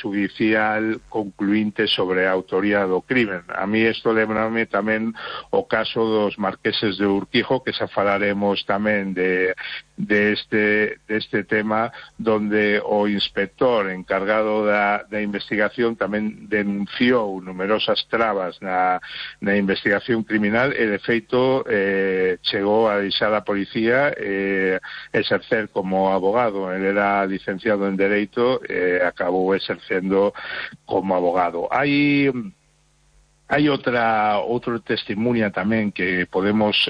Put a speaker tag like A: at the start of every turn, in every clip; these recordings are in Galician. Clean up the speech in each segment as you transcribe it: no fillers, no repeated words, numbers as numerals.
A: judicial concluinte sobre a autoría do crimen. A mí isto lembrame tamén o caso dos marqueses de Urquijo, que xa falaremos tamén de este tema, donde o inspector encargado da investigación tamén denunciou numerosas trabas na investigación criminal e, de feito, chegou a deixar a policía exercer como abogado. Ele era licenciado en Dereito e acabou exercendo como abogado. Hai outro testimonia tamén que podemos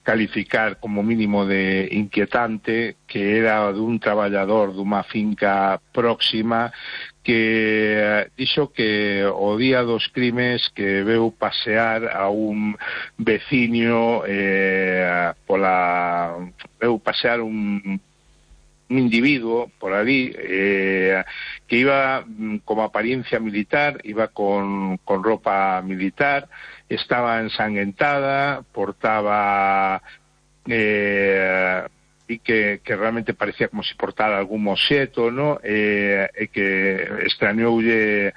A: calificar como mínimo de inquietante, que era dun traballador dunha finca próxima que dixo que o día dos crimes que veu pasear a un veciño veu pasear un individuo por allí que iba como apariencia militar, iba con ropa militar, estaba ensanguentada, portaba y que realmente parecía como si portara algún moxeto, ¿no? E que extrañoulle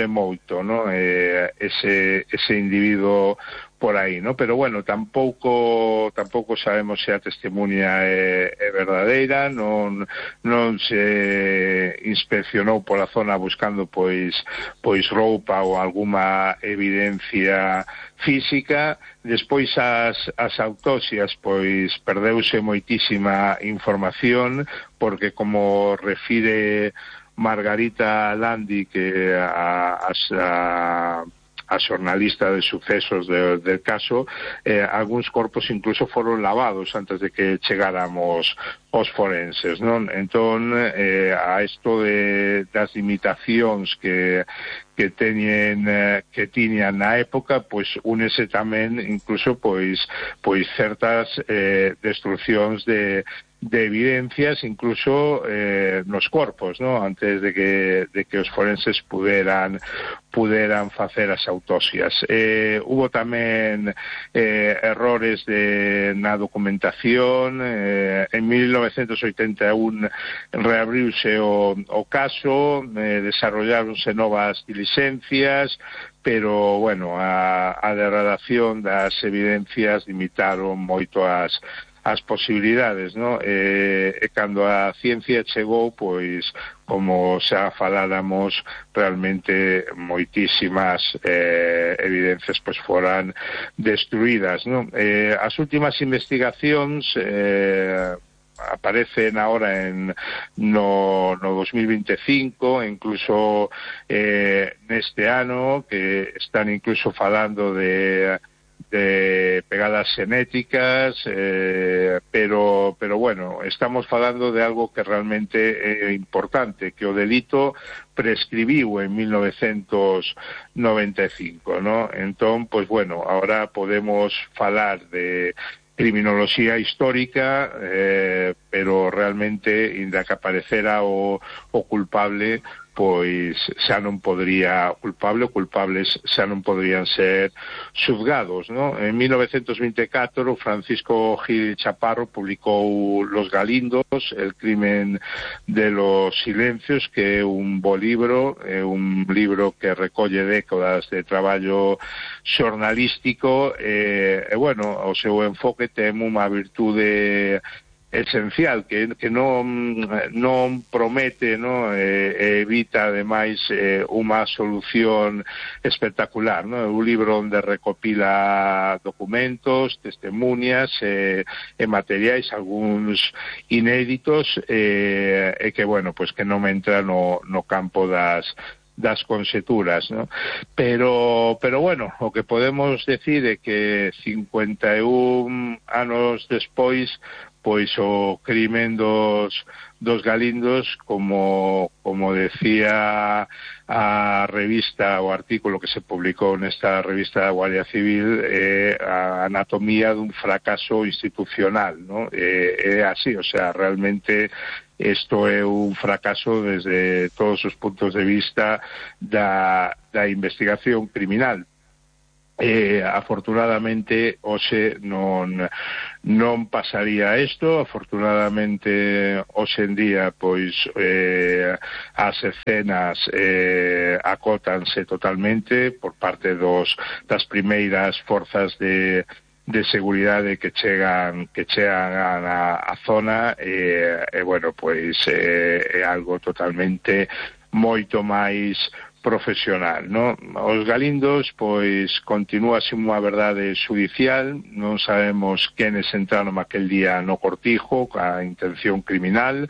A: moito, ¿no? Ese individuo por aí, ¿no? Pero bueno, tampouco sabemos se a testemunha é verdadeira, non se inspeccionou pola zona buscando pois roupa ou alguma evidencia física. Despois as autopsias pois perdeuse moitísima información, porque como refire Margarita Landi, que a xornalista de sucesos del caso, algúns corpos incluso foron lavados antes de que chegáramos os forenses, non? Entón, a isto das limitacións que tiñan na época, pois únese tamén incluso pois certas destruccións de evidencias, incluso nos corpos, ¿no? Antes de que os forenses puderan facer as autopsias. Hubo tamén errores na documentación. En 1981 reabriuse o caso, desarrolláronse novas diligencias, pero, bueno, a degradación das evidencias limitaron moito as posibilidades, ¿no? E cando a ciencia chegou, pois, como xa faláramos, realmente moitísimas evidencias pois foran destruídas, ¿no? As últimas investigacións aparecen ahora no 2025, incluso neste ano, que están incluso falando de pegadas xenéticas, pero bueno, estamos falando de algo que realmente é importante, que o delito prescribiu en 1995, ¿no? Entón, pues bueno, ahora podemos falar de criminoloxía histórica, pero realmente, inda que aparecera o culpable, pois xa non podría culpables xa non podrían ser xuzgados, ¿no? En 1924 Francisco Gil Chaparro publicou Los Galindos, el crimen de los silencios, que é un bo libro, un libro que recolle décadas de traballo xornalístico, e bueno, o seu enfoque ten unha virtude esencial, que non promete, ¿no? Evita ademais unha solución espectacular, ¿no? É un libro onde recopila documentos, testemunias e materiais, algúns inéditos, e que, bueno, pues que non entra no campo das conxeturas, ¿no? Pero bueno, o que podemos decir é que 51 anos despois, pois o crimen dos Galindos, como decía a revista, o artículo que se publicou nesta revista da Guardia Civil, a anatomía dun fracaso institucional, ¿no? É así, o sea, realmente isto é un fracaso desde todos os puntos de vista da investigación criminal. afortunadamente hoxe non pasaría isto. Afortunadamente hoxe en día pois as escenas acótanse totalmente por parte das primeiras forzas de seguridade que chegan á zona, bueno, pois é algo totalmente moito máis profesional, non? Os Galindos, pois, continúa sin unha verdade xudicial, non sabemos quenes entraron aquel día no cortijo, ca intención criminal,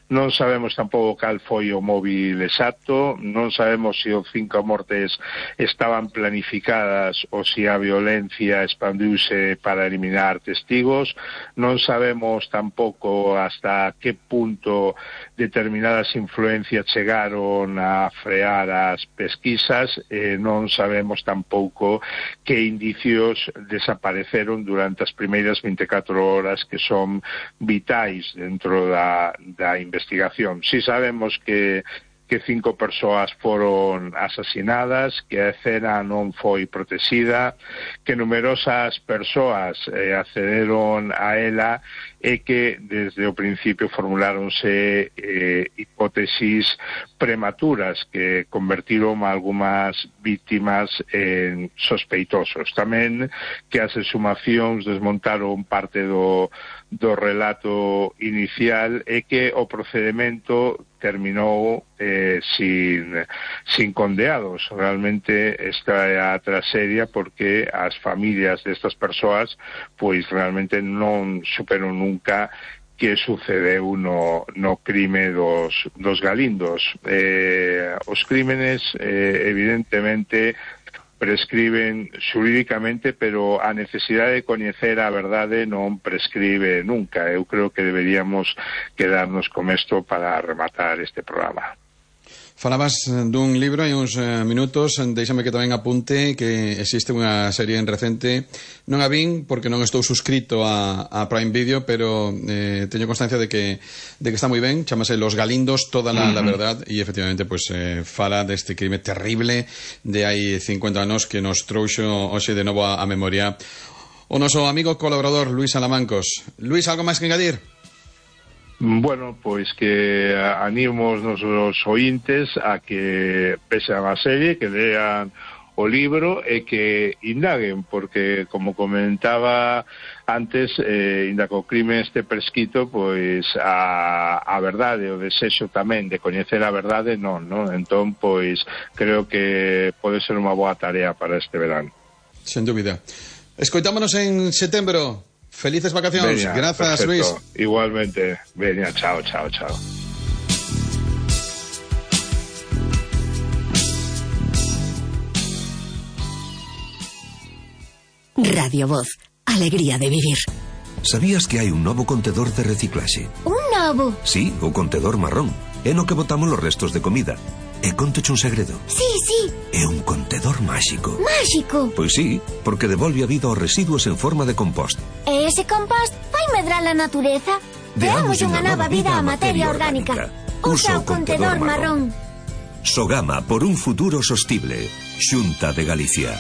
A: non sabemos tampouco cal foi o móvil exacto, non sabemos se os 5 mortes estaban planificadas ou se a violencia expandiuse para eliminar testigos, non sabemos tampouco hasta que punto determinadas influencias chegaron a frear as pesquisas, non sabemos tampouco que indicios desapareceron durante as primeiras 24 horas que son vitais dentro da investigación. Si sabemos que 5 persoas foron asasinadas, que a escena non foi protexida, que numerosas persoas accederon a ela e que desde o principio formuláronse hipótesis prematuras que convertiron a algunhas víctimas en sospeitosos. Tamén que as exhumacións desmontaron parte do relato inicial e que o procedimento terminou sin condeados. Realmente esta é a tragedia porque as familias destas persoas pois realmente non superan nunca que sucedeu no crime dos Galindos. Os crímenes evidentemente prescriben xurídicamente, pero a necesidade de coñecer a verdade non prescribe nunca. Eu creo que deberíamos quedarnos con isto para rematar este programa.
B: Falabas dun libro hai uns minutos, deixame que tamén apunte que existe unha serie recente, non a vin porque non estou suscrito a Prime Video, pero teño constancia de que está moi ben, chamase Los Galindos, toda la verdad, e efectivamente pues, fala deste crime terrible de hai 50 anos que nos trouxo hoxe de novo a memoria o noso amigo colaborador Luís Alamancos. Luís, algo máis que engadir?
A: Bueno, pois que animo os nosos ointes a que vexan a serie, que lean o libro e que indaguen, porque, como comentaba antes, inda que o crime este prescrito, pois a verdade, o desexo tamén de coñecer a verdade, non? Entón, pois, creo que pode ser unha boa tarea para este verán.
B: Sen dúbida. Escoitámonos en setembro. Felices vacacións.
A: Veña,
B: grazas,
A: perfecto.
B: Luís.
A: Igualmente. Veña, chao.
C: Radio Voz. Alegría de vivir.
D: Sabías que hai un novo contedor de reciclaxe?
C: Un novo?
D: Sí, o contedor marrón. É no que botamos os restos de comida. E contoche un segredo.
C: Sí.
D: É un contedor máxico.
C: Máxico?
D: Pois sí, porque devolve a vida aos residuos en forma de compost.
C: E ese compost vai medrar a natureza? Deamos unha nova vida á materia orgánica. Usa o contedor marrón.
D: Sogama por un futuro sostible. Xunta de Galicia.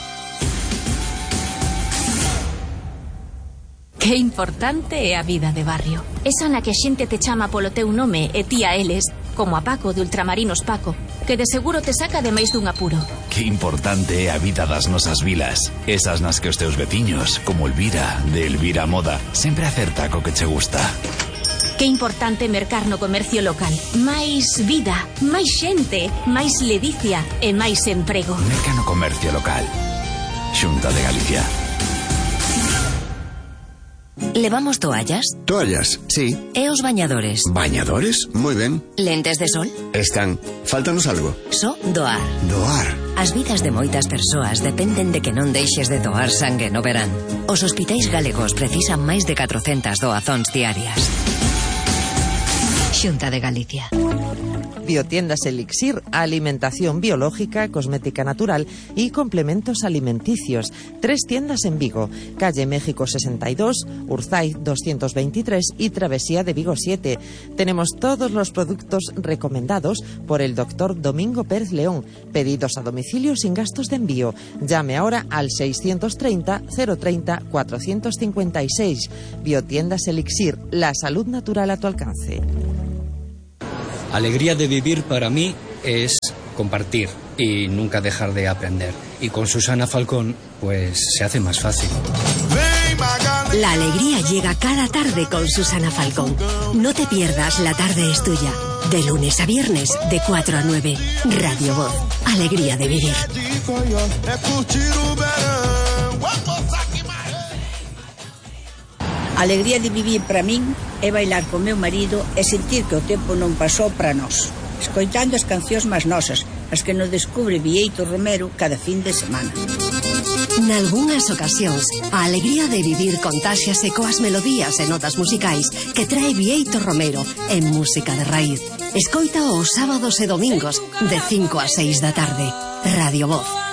E: Que importante é a vida de barrio. Esa na que a xente te chama polo teu nome e ti a eles, como a Paco de Ultramarinos Paco, que de seguro te saca de máis dun apuro.
F: Que importante é a vida das nosas vilas. Esas nas que os teus veciños, como Elvira, de Elvira Moda, sempre acerta co que che gusta.
E: Que importante mercar no comercio local. Máis vida, máis xente, máis ledicia e máis emprego.
F: Merca no comercio local. Xunta de Galicia.
C: Levamos toallas?
G: Toallas, sí.
C: E os bañadores?
G: ¿Bañadores? Muy ben.
C: Lentes de sol?
G: Están. Fáltanos algo.
C: Só doar.
G: Doar.
C: As vidas de moitas persoas dependen de que non deixes de doar sangue no verán. Os hospitais galegos precisan máis de 400 doazóns diarias. Xunta de Galicia.
H: Biotiendas Elixir, alimentación biológica, cosmética natural y complementos alimenticios. 3 tiendas en Vigo, calle México 62, Urzaiz 223 y Travesía de Vigo 7. Tenemos todos los productos recomendados por el doctor Domingo Pérez León. Pedidos a domicilio sin gastos de envío. Llame ahora al 630 030 456. Biotiendas Elixir, la salud natural a tu alcance.
I: Alegría de vivir para mí es compartir y nunca dejar de aprender. Y con Susana Falcón, pues se hace más fácil.
J: La alegría llega cada tarde con Susana Falcón. No te pierdas La Tarde es Tuya. De lunes a viernes, de 4 a 9. Radio Voz. Alegría de vivir.
K: A alegría de vivir para min é bailar co meu marido e sentir que o tempo non pasou para nós, escoitando as cancións máis nosas, as que nos descubre Bieito Romero cada fin de semana.
J: Nalgúnas ocasións, a alegría de vivir contáxiase coas melodías e notas musicais que trae Bieito Romero en Música de Raíz. Escoita os sábados e domingos de 5 a 6 da tarde. Radio Voz.